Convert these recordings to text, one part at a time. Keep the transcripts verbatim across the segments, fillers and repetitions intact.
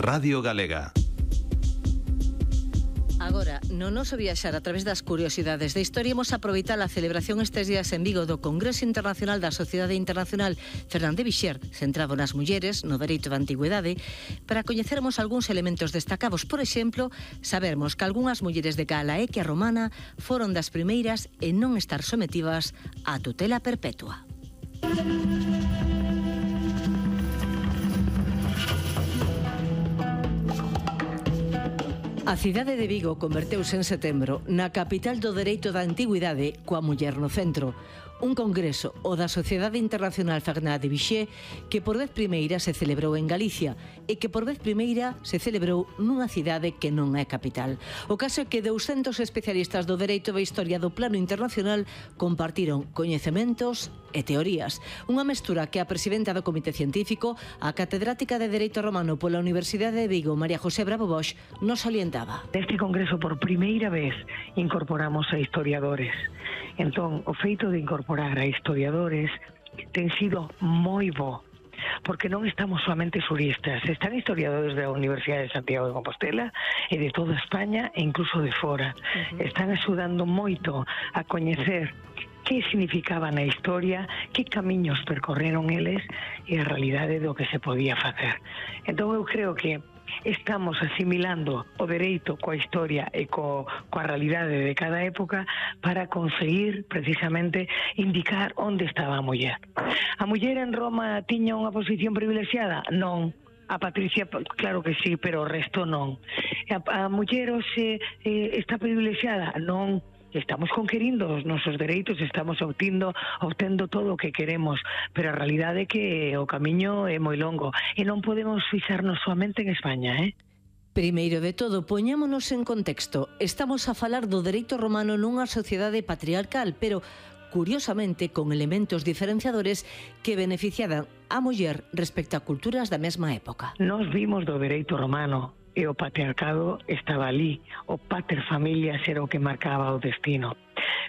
Radio Galega. Agora, no noso viaxar a través das curiosidades da historia, imos aproveitar a celebración estes días en Vigo do Congreso Internacional da Sociedade Internacional Fernández Vixier, centrado nas mulleres, no dereito da antigüedade, para coñecermos algúns elementos destacados. Por exemplo, sabermos que algunhas mulleres de Galaequia romana foron das primeiras en non estar sometidas á tutela perpetua. A cidade de Vigo converteuse en setembro na capital do dereito da antigüidade coa muller no centro. Un congreso, o da Sociedade Internacional Fernández Vixier, que por vez primeira se celebrou en Galicia e que por vez primeira se celebrou nunha cidade que non é capital. O caso é que douscentos especialistas do dereito da historia do plano internacional compartiron coñecementos e teorías. Unha mestura que a presidenta do Comité Científico, a catedrática de Dereito Romano pola Universidade de Vigo, María José Bravo Bosch, nos salientaba. Neste congreso por primeira vez incorporamos a historiadores. Entón, o feito de incorporar a historiadores ten sido moi bo, porque non estamos somente xuristas, están historiadores da Universidade de Santiago de Compostela e de toda España e incluso de fora. Uh-huh. Están axudando moito a coñecer que significaba na historia, que camiños percorreron eles e a realidade do que se podía facer. Entón eu creo que estamos asimilando o dereito coa historia e co, coa realidade de cada época para conseguir precisamente indicar onde estaba a muller. A muller en Roma tiña unha posición privilexiada? Non. A Patricia, claro que sí, pero o resto non. A, a muller hoxe eh, está privilexiada? Non. Estamos conquerindo os nosos dereitos, estamos obtindo, obtendo todo o que queremos, pero a realidade é que o camiño é moi longo e non podemos fixarnos soamente en España, eh? Primeiro de todo, poñámonos en contexto. Estamos a falar do dereito romano nunha sociedade patriarcal, pero curiosamente con elementos diferenciadores que beneficiaban a muller respecto a culturas da mesma época. Nos vimos do dereito romano e o patriarcado estaba ali, o pater familias era o que marcaba o destino.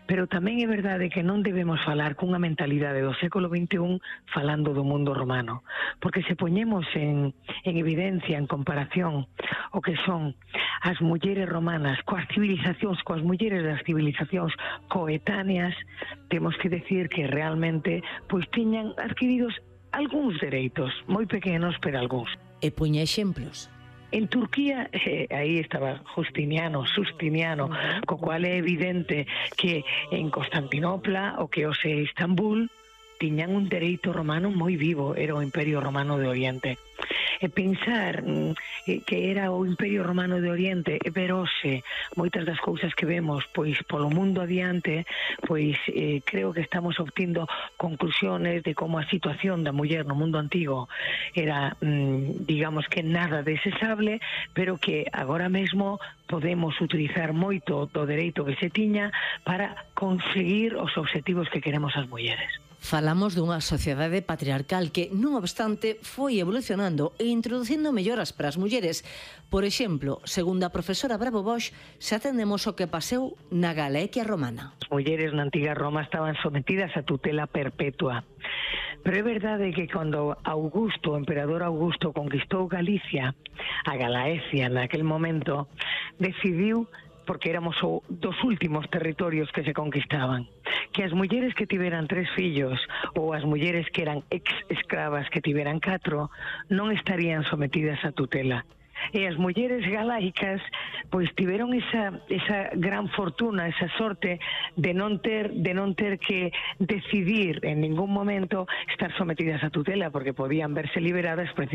Pero tamén é verdade que non debemos falar cunha mentalidade do século vinte e un falando do mundo romano, porque se poñemos en, en evidencia, en comparación, o que son as mulleres romanas coas civilizacións, coas mulleres das civilizacións coetáneas, temos que decir que realmente pois tiñan adquiridos algúns dereitos, moi pequenos, pero algúns. E puña exemplos. En Turquía, eh, aí estaba Justiniano, Justiniano, co cual é evidente que en Constantinopla, o que hoxe é Istambul, tiñan un dereito romano moi vivo, era o Imperio Romano de Oriente. E pensar eh, que era o Imperio Romano de Oriente, pero hoxe, moitas das cousas que vemos pois polo mundo adiante, pois eh, creo que estamos obtindo conclusiones de como a situación da muller no mundo antigo era, mm, digamos que nada desexable, pero que agora mesmo podemos utilizar moito do dereito que se tiña para conseguir os obxectivos que queremos as mulleres. Falamos dunha sociedade patriarcal que, non obstante, foi evolucionando e introducindo melloras para as mulleres. Por exemplo, segundo a profesora Bravo Bosch, xa atendemos o que paseu na Galaequia romana. As mulleres na antiga Roma estaban sometidas a tutela perpetua. Pero é verdade que cando Augusto, o emperador Augusto, conquistou Galicia, a Galaecia naquel momento, decidiu, porque éramos o, dos últimos territorios que se conquistaban, que as mulleres que tiveran tres fillos ou as mulleres que eran ex-escravas que tiveran catro non estarían sometidas a tutela. E as mulleres galaicas pois tiveron esa, esa gran fortuna, esa sorte de non ter de non ter que decidir en ningún momento estar sometidas a tutela, porque podían verse liberadas precisamente